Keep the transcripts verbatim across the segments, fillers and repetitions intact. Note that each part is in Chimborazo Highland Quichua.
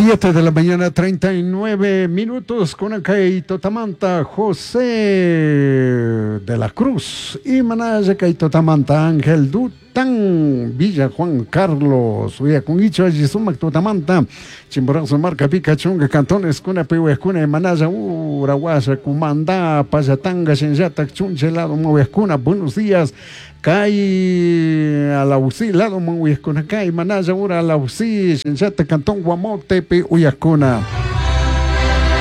Siete de la mañana, treinta y nueve minutos con Totamanta José de la Cruz y Manaya Totamanta Ángel Dután Villa Juan Carlos Uyakunguicho allí sumak Totamanta Chimborazo Marca Pica Chunga Cantones Cuna Pihuescuna Manaya Urahuasa Cumandá Payatanga Shenyata Chunche lado Muescuna. Buenos días. Kai Alaucí lado Muescuna Kai Manaya Ura Alaucí Shenyata Cantón Guamote Pi Uyacuna.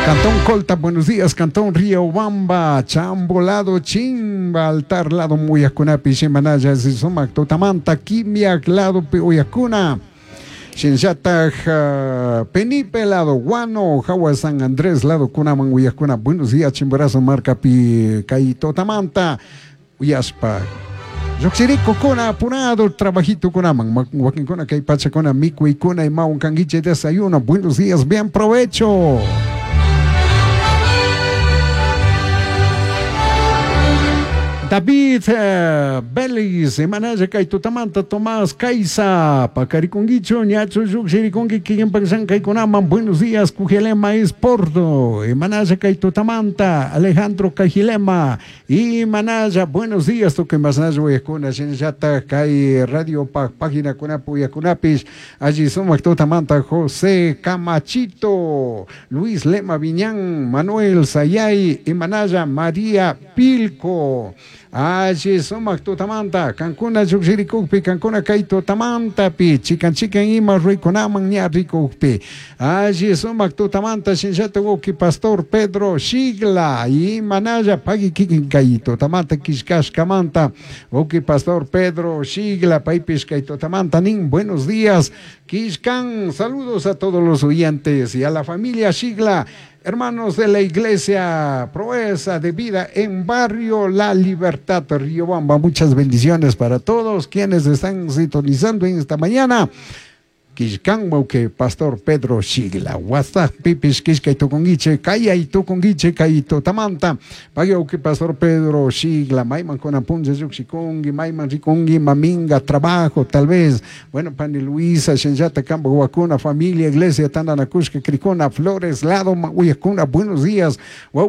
Cantón Colta, buenos días. Cantón Río Bamba, Chambo lado Chimba, Altar lado Muyacunapi, Shimanaya, Sumac, Totamanta, Quimiac lado Uyacuna. Shinshata Penipe lado Guano, Jagua San Andrés lado Cunaman Uyacuna. Buenos días, Chimborazo Marca Pi, Kai Totamanta, Uyaspa. Yoxirico cona apurado, trabajito cunaman, wakinkuna kay pachakuna, mikuykuna y maun canguiche desayuno. Buenos días, bien provecho. David eh, Vélez, Emanaya Kaitutamanta, Tomás Caiza, Pacariconguicho, Ñacho Yuxiricongi, Kikin Kaikunaman, buenos días, Cujelema es Porto, Emanaya Kaitutamanta, Alejandro Cajilema, y Manaya, buenos días, toque Masnayo Uyacuna, Shenyata, Kai Radio Página Cunapu Uyacunapis, allí somos Totamanta, José Camachito, Luis Lema Viñán, Manuel Sayay, Emanaya María Pilco. Allí sumak tutamanta, Cancuna yuxirikukpi, Cancuna kay tutamantapi, chikan chikan ima ruikunaman ña rikukpi. Allí sumak tutamanta, shinshata wuki pastor Pedro Shigla, y manaya pagui kikin kay tutamanta, kishkashkamanta, wuki pastor Pedro Shigla, paypish kay tutamanta, nin, buenos días, Kishkan, saludos a todos los oyentes y a la familia Shigla. Hermanos de la Iglesia Proeza de Vida en Barrio La Libertad, Riobamba. Muchas bendiciones para todos quienes están sintonizando en esta mañana. Kishkan que Pastor Pedro Shigla, WhatsApp pipis kishka y tukunguiche, kaya y tukunguiche, kaya y totamanta, pague que Pastor Pedro Shigla, maiman con apunce yuxikungi, maiman rikungi, maminga, trabajo, tal vez, bueno, Pani Luisa, Shenyata, Campo, Huacuna, familia, iglesia, Tandanacushka, Cricona, Flores, Lado, Uyacuna, buenos días,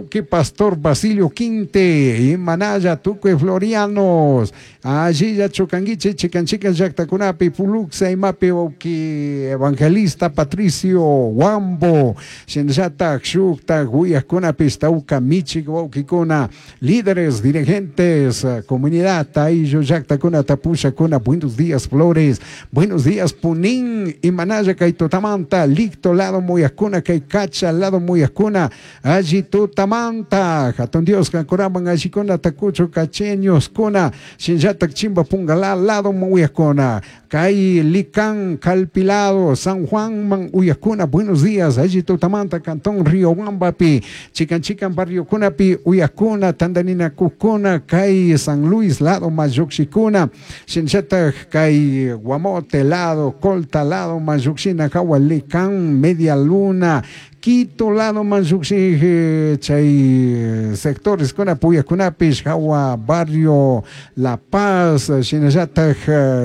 que Pastor Basilio Quinte, y Manaya, Tuque, Florianos, allí ya Chocanguiche, Chicanchica, Yactacunapi, Puluxa, y Mapi, Oki, Evangelista Patricio Wambo, Shenyata, Xukta, Huyacuna, Pistauca, Michi, Huauquicuna, líderes, dirigentes, comunidad, Taillo, Yactacuna, Tapusha, Cuna, buenos días, Flores, buenos días, Punín, Imanaya, Kaitotamanta, Licto, lado Muyacuna, Caicacha, lado Muyacuna, allí Tutamanta, Jatón Dios, Cancoraman, Ashicona, Tacucho, Cacheños, Cuna, Shenyata, Chimba, Pungalá, lado Muyacuna, Cai, Licán, Calpi, Lado, San Juan, Man, Uyacuna, buenos días, allí Tutamanta, Cantón, Río Huambapi, Chican Chican, Barrio Cunapi, Uyacuna, Tandanina, Cucuna, Cai, San Luis, Lado, Mayuxicuna, Shinchata, Cai, Guamote, Lado, Colta, Lado, Mayuxina, Jahualicán, Media Luna, Quito, Lado, Mayuxi, Chay, sectores, Cunapuya, Cunapis, Jagua, Barrio, La Paz, Shinachata,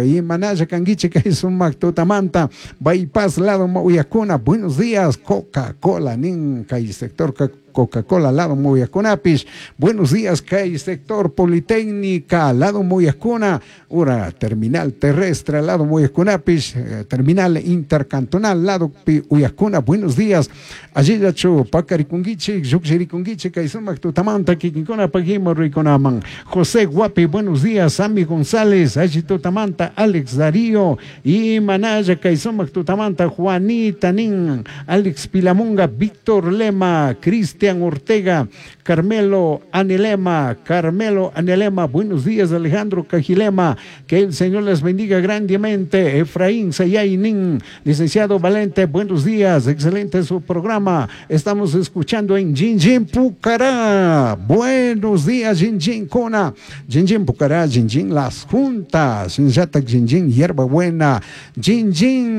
y Manaya, Canguiche, Cai, Tutamanta, Bypass, Lado, Uyacuna, buenos días, Coca-Cola, Nin, Cai, sector Coca-Cola, lado Muyacunapis, buenos días, Cai, sector Politécnica, lado Muyacuna, ura, terminal terrestre, lado Muyacunapis, eh, terminal intercantonal, lado Uyacuna, buenos días, allí yachu, Pacaricunguiche, Yuxiricunguiche, Caizumac, Tutamanta, Kikinkuna, Pajimo, Riconaman, José Guapi, buenos días, Sammy González, allí Tutamanta, Alex Darío, y Manaya, Caizumac, Tutamanta, Juanita Nin, Alex Pilamunga, Víctor Lema, Cristian Ortega, Carmelo Anelema, Carmelo Anelema, buenos días, Alejandro Cajilema, que el Señor les bendiga grandemente, Efraín Sayaynin, licenciado Valente, buenos días, excelente su programa, estamos escuchando en Jinjin Pucará, buenos días, Jinjin Cona, Jinjin Pucará, Jinjin Las Juntas, Jinjata Jinjin Hierba Buena, Jinjin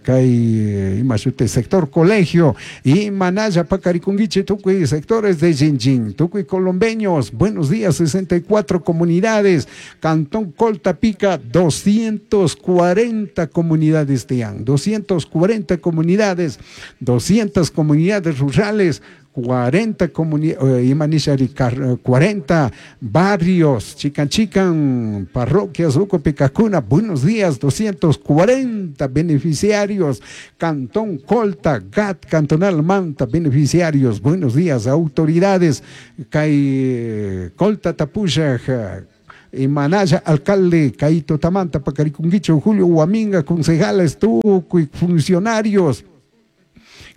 Kay Ima shuti sector colegio y manalla pacarikunguichi tukuy sectores de Jinjin, tukuy colombeños, buenos días, sesenta y cuatro comunidades, Cantón Colta Pica, doscientas cuarenta comunidades tian, doscientas cuarenta comunidades, doscientas comunidades rurales, cuarenta comuni-, eh, imanishari car-, cuarenta barrios, chican chican, parroquias, Ucopicacuna, buenos días, doscientos cuarenta beneficiarios, Cantón Colta, G A T, Cantonal Manta, beneficiarios, buenos días, autoridades, Kay Colta Tapuya, Manaya, alcalde, Caito Tamanta, Pacaricunguicho, Julio Huaminga, concejales, tucuy, funcionarios,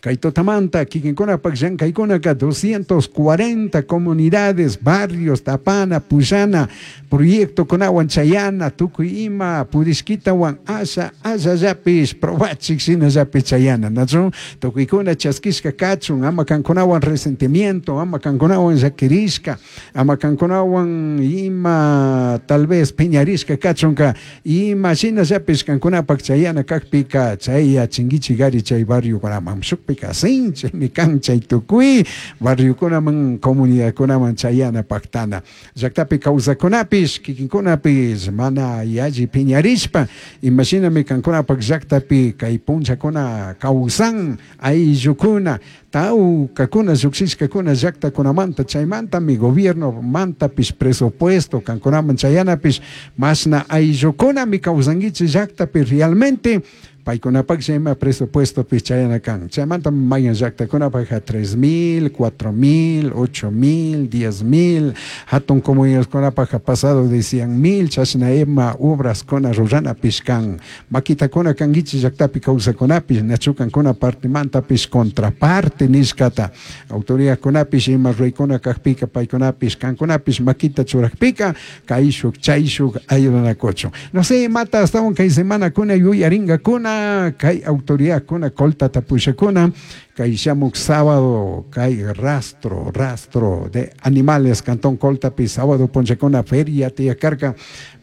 Caito Tamanta, Kikinkuna, Pakyan, Kaikunaka, doscientas cuarenta comunidades, barrios, Tapana, Puyana, Proyecto Conahuan, Chayana, Tucuima, Purishquitawan, Asha, Asha Yapis, Probachik, Sina Yapis, Chayana, Nacho, Tucuicuna, Chasquisca, Cachun, Amacanconahuan, Resentimiento, Amacanconahuan, Yaquirishka, Amacanconahuan, Ima, tal vez, Peñarisca, Cachunca, Ima, Sina Yapis, Cancuna, Pak, Chayana, Cacpica, Chaya, Chinguichi, Gari, Chay, Barrio, Guaramam, Shuk, Picasinche, mi cancha y tucuy, barrio kunaman, comunidad kunaman, chayana, pactana. Llaktapi kawsakunapis, kikinkunapis, mana yalli piñarishpa, imagíname kankunapak llaktapi kay punchakuna kawsan, ayllukuna, tawkakuna, lluqshishkakuna llaktakunamanta, chaymanta mi gobierno mantapis presupuesto, kankunaman chayanapis, masna ayllukuna mi kawsankichik llaktapi realmente, paykunapak chayma presupuesto pichayana kan. Chaymanta mayan llaktakunapak tres mil, cuatro mil, ocho mil, diez mil, hatun comunidadkunapak pasado de cien mil, chashna ema obras kuna rurana pishkan. Makitakuna kankichik llaktapi kawsakunapish, nachukankuna partimantapis contraparte nishkata. Autoridadkunapish ima ruykuna kakpika paykunapish kankunapish makita churakpika, kayshuk chayshuk ayudanakuchun. No sé, mata hasta un kay semana kuna yuyaringakuna, kay autoridad kuna Colta tapushakuna, kay shamuk sábado, kay rastro, rastro de animales, Cantón Colta, pi sábado ponchakuna feria tiakarka.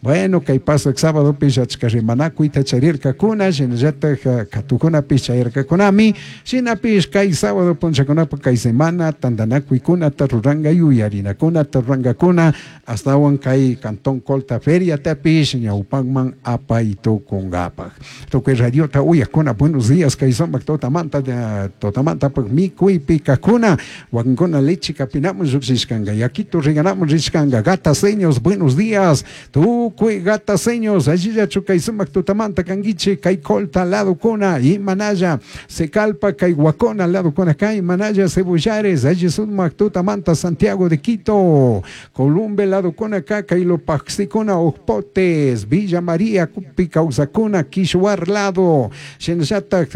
Bueno, kay paso el sábado pishachka rimanakuy tacharirka kuna, shinallata katukuna pichayarkakunami, shinapish kay sábado ponchakuna kay semana tandanakuy kuna taruranga yuyarinakuna tarurangakuna, hasta kay Cantón Colta feria tapish ñawpakman apaytukunkapaj. Tukuy radiota uyakuna, buenos días, kay sumak totamanta, totamanta pak mikuy pikakuna, wakinkuna leche kapinamun lluqshishkanka, yakito riganamun rishkanka, gataseños, buenos días, tukuy gataseños, allillachu kay sumak tutamanta kankichik, kay Colta lado kuna, imanaya, Secalpa kay Huacona lado kuna, kay Manaya Cebollares, alli sumak tutamanta Santiago de Quito, Columbe lado kuna, kay Lopaxicuna, Ojpotes, Villa María, Cupi Causacuna, Quishuar lado, Shenshata,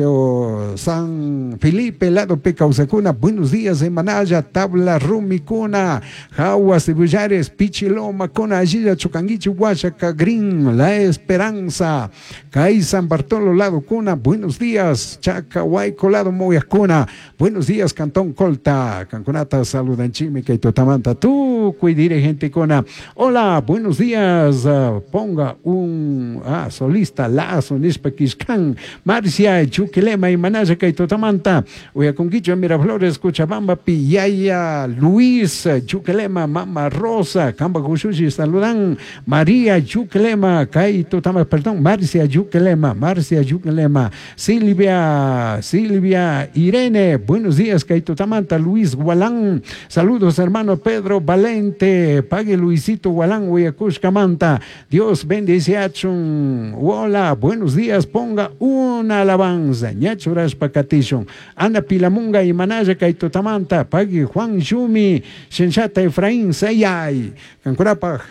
San Felipe lado Pecausacuna, buenos días en Manaya, Tabla Rumicuna, Jagua Cebollares, Pichiloma, Cona, Allilla, Chucanguichi, Huachaca, Green, La Esperanza, Cay San Bartolo lado Cuna, buenos días, Chacahuayco lado Moyacuna, buenos días, Cantón Colta, Cancunata, saludan Chimica y Totamanta, tú, dirigente Cona, hola, buenos días, uh, ponga un ah, solista, Lazo, Nispaquiscán, Marcia, Chuquilema y Manaya, Totamanta, Uyaconquicho, Miraflores, Cochabamba, Pillaya, Luis, Chuquilema, Mama Rosa, Camba Cushushi, saludan, María Chuquilema, Caito Tama, perdón, Marcia Yuquilema, Marcia Yuquilema, Silvia, Silvia Irene, buenos días, Caito Tamanta, Luis Gualán, saludos, hermano Pedro Valente, pague Luisito Gualán, Huyacushcamanta, Dios bendice a Chun, hola, buenos días, ponga una alabanza, ñachuras pacatishun, Ana Pilamunga y Manaya Caito Tamanta, pague Juan Yumi, Shenchata Efraín Sayay, Cancurapa,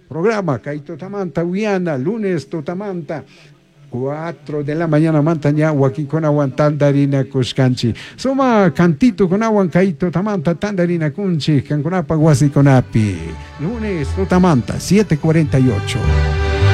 programa Caito Tamanta, Uyana, lunes Totamanta, cuatro de la mañana mantaña wakinkunawan tandarina kushkanchi. Suma cantito kunawan kaito tamanta tandarina kunchi kankunapa wasikunapi. Lunes Totamanta, siete cuarenta y ocho.